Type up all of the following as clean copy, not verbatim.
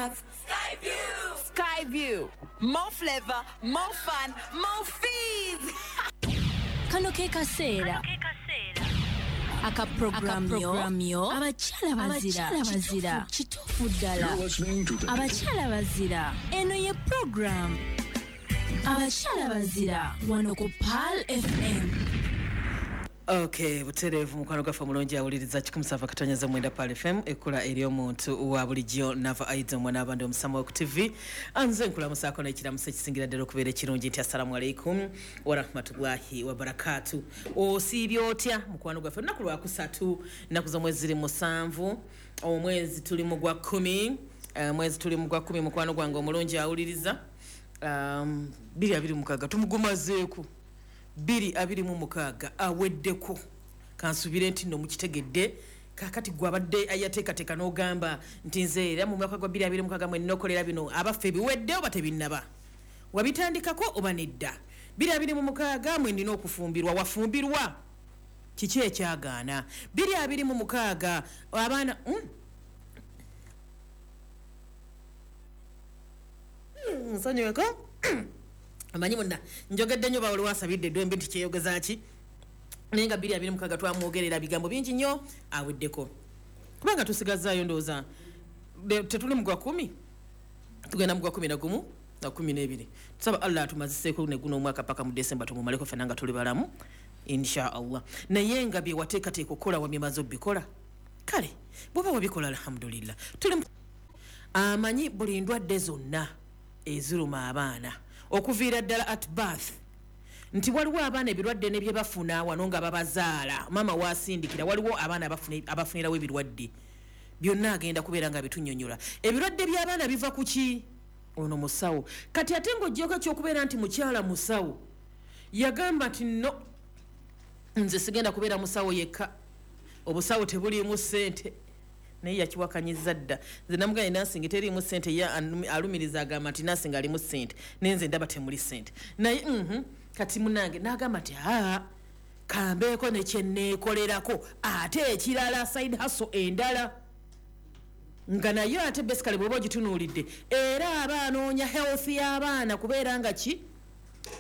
have Skyview. Skyview. More flavor, more fun, more fees. Kano ke kaseera aka program yo abakyala bazira kituufu ddala abakyala bazira. Eno ye program abakyala bazira wano ku Pearl FM. Okay, butereevu mukwano gwaffe omulungi awuliriza 107.9 Pearl FM, ekkula ery'omuntu wa bulijjo Nava Aids omwana abandi omusama ku TV. Anze nkulamusaako n'ekiramuso ekisingira ddala okubeera ekirungi nti assalamu alaikum warahmatullahi wabarakatu. Osiibye otya mukwano gwaffe? Olunaku lwakusatu, ennaku z'omwezi ziri 7, omwezi tuli mu gwa 10, mwezi tuli mu gwa 10. Mukwano gwange omulungi awuliriza 2026 tumugumazeeko 2026 aweddeko. Kansubire nti nno mukitegedde. Kakati gwe abadde ayateekateeka n'ogamba nti nze era mu mwaka gwa 2026 mwe nnokolera bino, abaffe biwedde oba tebinnaba? Wabitandikako oba nedda? 2026 mwe nnina okufumbirwa, wafumbirwa? Kiki ekyagaana? 2026 abaana nsonyiweko amanyi munda njogedde nnyo bawuli wasabidde eddwembe nti kyeyogeza ki, naye nga 2026 twamwogerera bigambo bingi nnyo aweddeko, kubanga tusigazaayo ndowooza tetuli mu gwa 10, tugenda mu gwa 11 na 12. Tusaba Allah atumaziseeko ne guno omwaka paka mu Desemba tumumaleko ffenna nga tuli balamu insha Allah. Naye nga bye wateekateeka okukola wabimaze obikola, kale bw'oba wabikola alhamdulillah. Tuli amanyi buli ndwadde zonna eziruma abaana okuviira ddala at birth, nti waliwo abaana ebirwadde ne bye bafuna wano nga babazaala, maama wasindikira, waliwo abaana abafunirawo ebirwadde byonna, agenda kubeera nga bitunyonyola. Ebirwadde by'abaana biva ku ki? Ono musawo. Kati ate ng'oggyeko ekyokubeera nti mukyala musawo, yagamba nti no, nze sigenda kubeera musawo yekka, obusawo tebuliimu ssente. Naye yakiwakanyiza dda. Nze namugambye nursing teriimu ssente, ye alumiriza agamba nti nursing alimu ssente, naye nze ndaba temuli ssente. Naye kati munange n'agamba nti aa kambeeko ne kyenneekolerako ate ekirala, side hustle endala, nga naye ate basically bw'oba ogitunuulidde era aba anoonya health y'abaana kubeera nga ki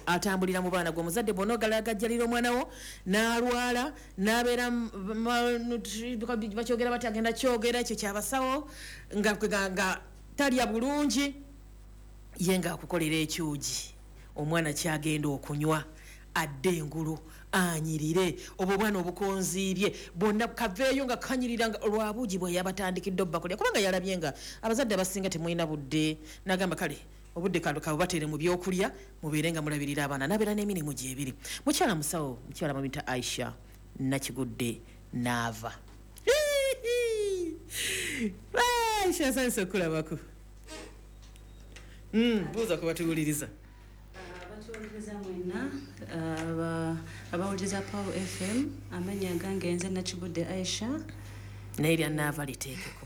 atambulira mu baana. Gwe omuzadde bw'ona ogalagajjalira omwana wo n'alwala n'abeera bakyogera bati agenda kyogera ekyo kyabasawo nga talya bulungi, ye ng'akukolera ekyugi omwana kyagenda okunywa adde engulu anyirire, obwo obwana obukonziibye bwonna kaveeyo nga kanyirira nga olwabuugi bwe yabatandikidde obbakolera, kubanga yalabye nga abazadde abasinga temulina budde, n'agamba kale obudde kano kabubateere mu byokulya mubeere nga mulabirira abaana, n'abeera n'emirimu gyebiri. Mukyala musawo, mukyala bamuyita Aisha Nakigudde Naava. Aisha nsanyuse okukulabako. Buuza ku batuwuliriza. Abatuwuliriza mwenna abawuliriza Pearl FM, amannya gange nze Nakigudde Aisha. Naye erya Naava liteekeko.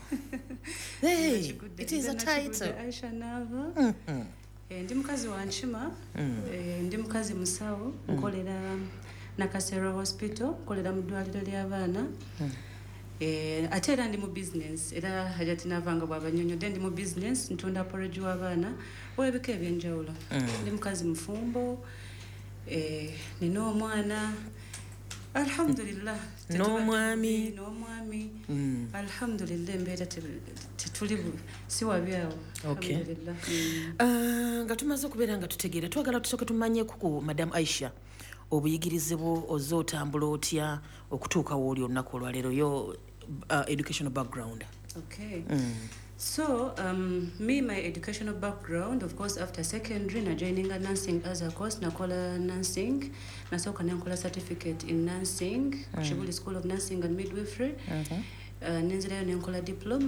Hey, it is a title. Aisha Naava. Ndi mukazi wa Nkima, ndi mukazi musawo, nkolera Nakasero Hospital, nkolera mu ddwaliro ly'abaana. Ate era ndi mu business, era Hajati Naava nga bw'abanyonnyodde ndi mu business, ntunda porridge w'abaana ow'ebika ebyenjawulo. Ndi mukazi mufumbo, nina omwana alhamdulillah, n'omwami. N'omwami alhamdulillah, embeera tetuli si wabi awo. Okay. Alhamdulillah. Nga tumaze okubeera nga tutegeera, twagala tusooke tumanyeko ku Madam Aisha obuyigirize bwo, ozze otambula otya okutuuka wooli olunaku olwaleero, yo educational background. Okay. So, me, my educational background, of course, after secondary, na joining a nursing as a course, nakola nursing, nasooka nenkola certificate in nursing, Kibuli School of Nursing and Midwifery. Nenzirayo nenkola diploma.